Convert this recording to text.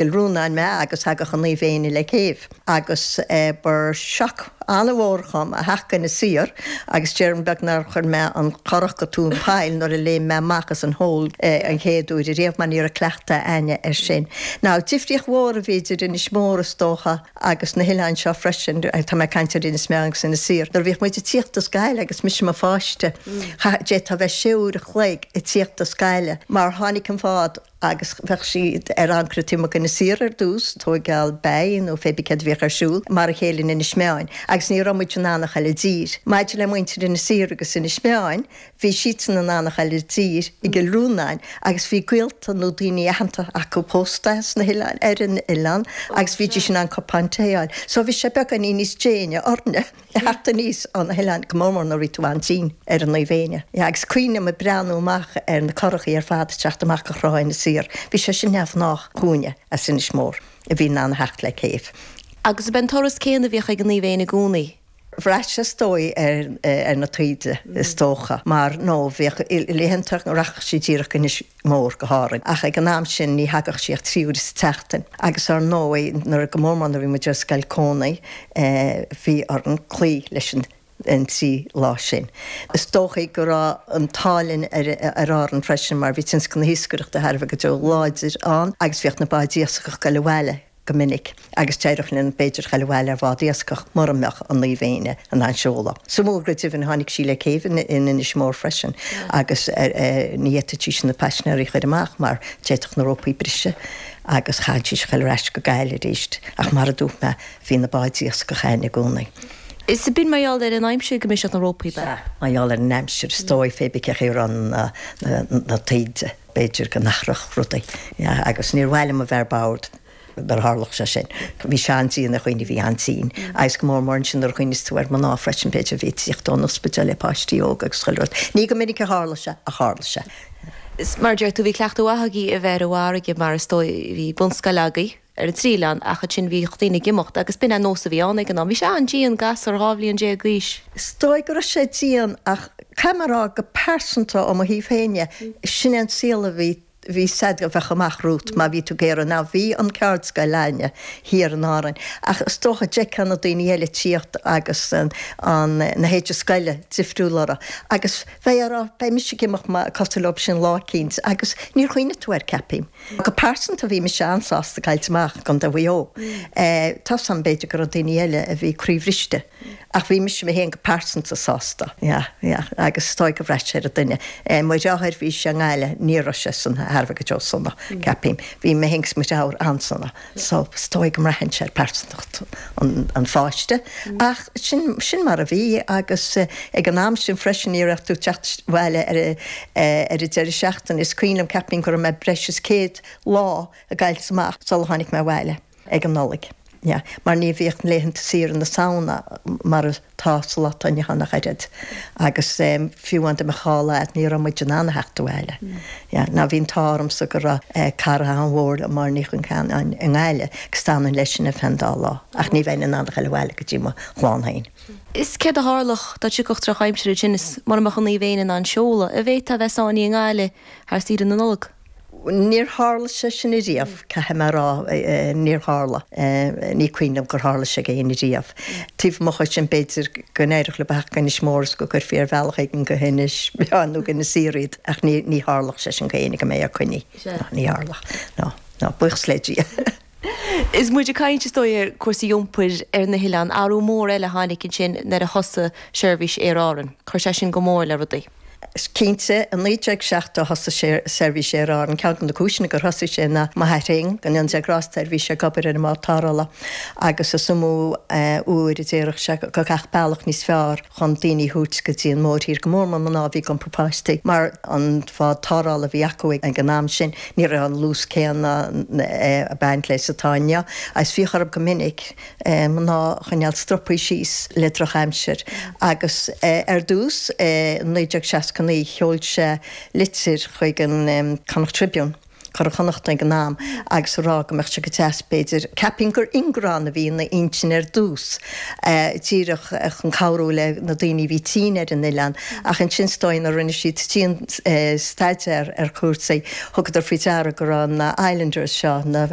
Cill Rónáin mé agus thagadh an Naomh Éanna le céibh agus ba shock an-mhór dhom a theacht go Inis Oírr agus déarfainn beag nár chuir mé an curach go tóin poill nuair a léim mé amach as an hole an chéad uair ariamh mar ní raibh cleachtadh a'inne air sin. Now difríocht mhór a bhí idir Inis Mór is dócha agus na hoileáin seo freisin, tá mé ag caint ar Inis Meáin agus Inis Oírr, nuair a bhíodh muid ag tíocht as Gaillimh agus mise i mo pháiste, d'fhéadfá a bheith sé uair a chloig ag tíocht as Gaillimh mar tháinig an bád agus bheadh siad ar ancaire taobh amuigh d'Inis Oírr ar dtús, tóigeáil beidh nó fé bí céard a bhíodh ar siúl, mar a chéile in Inis Meáin, agus ní raibh muid in ann a ghoil i dtír. Maidir le muintir Inis Oírr agus Inis Meáin, bhí siadsan in ann a ghoil i dtír i gCill Rónáin agus bhí gaolta nó daoine aitheanta acu pósta sna hoileáin, ar an oileán agus bhídís in ann cupán tae a fháil. So bhí sé beagáinín níos déine orainne. theacht aníos ó na hoileáin, go mór mór nuair a bhí tú an-tinn ar an Naomh Éanna. Agus cuimhním ag breathnú amach ar na curachaí ar fad ag teacht amach go Trá Inis Oírr. Bhí sé sin neamhghnách dhúinne as Inis Mór a bhí in ann a theacht le céibh. Agus ab é an turas céanna a bhíodh ag an Naomh Éanna i gcónaí? Bhraith sé is dóigh ar na taoide is dócha mar nó bhíodh laethanta go rachadh sí díreach go Inis Mór go hÁrainn. Ach ag an am sin ní thagadh sí ach 3 uaire sa tseachtain. Agus ar ndóigh nuair, go mór mór nuair a bhí muid ar scoil cónaí, bhí orainn cloí leis an 3 lá sin. Is dóichí go raibh an t-ádh linn ar Árainn freisin mar bhí tionscal na hiascaireachta thar a bheith go deo láidir ann agus bhíodh na báid iascach ag goil abhaile go minic agus d'éireodh linn b'fhéidir a ghoil abhaile ar bhád iascach mura mbeadh an Naomh Éanna in ann seoladh. Is mór go deimhin tháinig sí le céibh in Inis Mór freisin agus ní fhéadfaidís na paisinéirí a chur amach mar d'fhéadfadh na rópaí briseadh agus chaithfidís a ghoil ar ais go Gaillimh arís. Ach mar a dúirt mé bhí na báid iascach a'inn i gcónaí. Is b'in mar gheall ar an aimsir go mbriseadh na rópaí, ab ea? Sea, mar gheall ar an aimsir is dóigh fé bith cé chaoi a raibh na taoide. B'fhéidir go n-athródh rudaí. Agus níor mhaith liom a bheith ar bord nuair a tharlódh sé sin. Bhí sé an-dian ar dhaoine a bhí an-tinn. Agus go mór mór ansin nuair a chuimhníos tú ar mná freisin, b'fhéidir, a bhí ag tíocht ón ospidéal le páistí óga agus chuile rud. Ní go minic a tharla sé, ach tharla sé. Is mar a deir tú, bhí cleachtadh mhaith agaibh a bheith ar an bhfarraige mar is dóigh, bhí bunscoil agaibh. ar an trí oileán ach ansin bhíodh daoine ag imeacht agus b'in an nós a bhí ann ag an am. Bhí sé an-dian, gasúr 12 bhliain d'aois. Is dóigh go raibh sé dian ach caithfidh mé a rá go pearsanta ó mo thaobh féin dhe, sin é an saol a bhí, bhí said a bheadh amach romhat má bhí tú ag iarraidh. Now bhí an ceardscoil a'inne thiar in Árainn ach is dócha d'fheicfeá na daoine eile ag tíocht agus an, na héide scoile difriúil orthu agus bheifeá ag rá beidh mise ag imeacht cosúil leo sin lá eicínt agus níor chuimhnigh tú air ceapaim. Go pearsanta bhí mise an-sásta gabhailt amach i gContae Mhaigh Eo. Tá's a'm b'fhéidir go raibh daoine eile a bhí croíbhriste ach bhí mise mé féin go pearsanta sásta. Yeah, yeah agus is dóigh gur bhraith sé ar an duine. Mo dheartháir bhí sé i nGaillimh, ní raibh sé san thar a bheith go deo sona, ceapaim. Bhí mé féin agus mo dheartháir an-sona. So is dóigh go mbraitheann sé ar pearsantacht an pháiste. Ach sin, sin mar a bhí agus ag an am sin freisin ní raibh tú ag teacht abhaile ar ar an deireadh seachtaine. Is cuimhin liom, ceapaim go raibh mé breis is 100 lá ag gabhailt amach sula tháinig mé abhaile ag an Nollaig. Yeah. Mar ní bhíodh laethanta saoire na Samhna mar atá sa lá atá inniu ann ach oiread. Agus fiú amháin dá mbeadh dhá lá agat ní raibh muid in ann a theacht abhaile. Yeah. Now bhí an t-ádh ormsa go raibh cara an-mhór liom, Máire Ní Chonceanainn, i nGaillimh agus d'fhanainn leis sin ar feadh an dá lá. Ach ní bheinn in ann a ghoil abhaile go dtí mo chlann féin. Is céard a tharlódh dá dtiocfadh drochaimsir ansin is mura mbeadh an Naomh Éanna in ann seoladh, an bhféadfá a bheith sáinnithe i nGaillimh thar saoire na Nollag? Níor tharla sé sin ariamh, caithfidh mé a rá, níor tharla. Ní cuimhin liom gur tharla sé go éinne riamh. Taobh amuigh dhe sin, b'fhéidir go n-éireodh leo a theacht go Inis Mór is go gcuirfí ar bhealach éigin go hInis Meáin nó go Inis Oírr iad, ach ní tharlódh sé sin go éinne go mbeidh ar coinní. Ní tharlódh. No, no, buíochas le Dia. Is muid ag caint, is dóigh, ar cúrsaí iompair ar na hoileáin. Athrú mór eile a tháinig ansin nuair a thosaigh seirbhís Aer Árann. Chuir sé sin go mór le rudaí. Cinnte, i 1970 thosaigh seirbhís Aer Árann. Ceann de na cúiseanna gur thosaigh sé ná m'athair féin, go ndéana Dia grásta air, bhí sé ag obair ar an mbád tarrthála agus is iomaí uair a déarfadh sé go gcaithfeadh bealach níos fearr chun daoine a thabhairt go dtí an mórthír, go mór mór mná a bhí ag iompar páistí, mar an bád tarrthála a bhí acu ag an am sin, ní raibh an luas céanna ag baint leis is atá inniu, agus bhíodh orthu go minic mná a choinneáil stropaithe síos le drochaimsir. Agus ar dtús, i 1969, sheol sé litir chuig an Connacht Tribune. Curaidh Chonnacht ag an am agus a rá go mbeadh sé go deas b'fhéidir, ceapaim gur Ingrán a bhí ina intinn ar dtús, díreach chun cabhrú le na daoine a bhí tinn ar an oileán ach ansin is dóigh nuair a rinne siad dian staidéar ar chúrsaí thugadar faoi deara go raibh na islanders seo, na.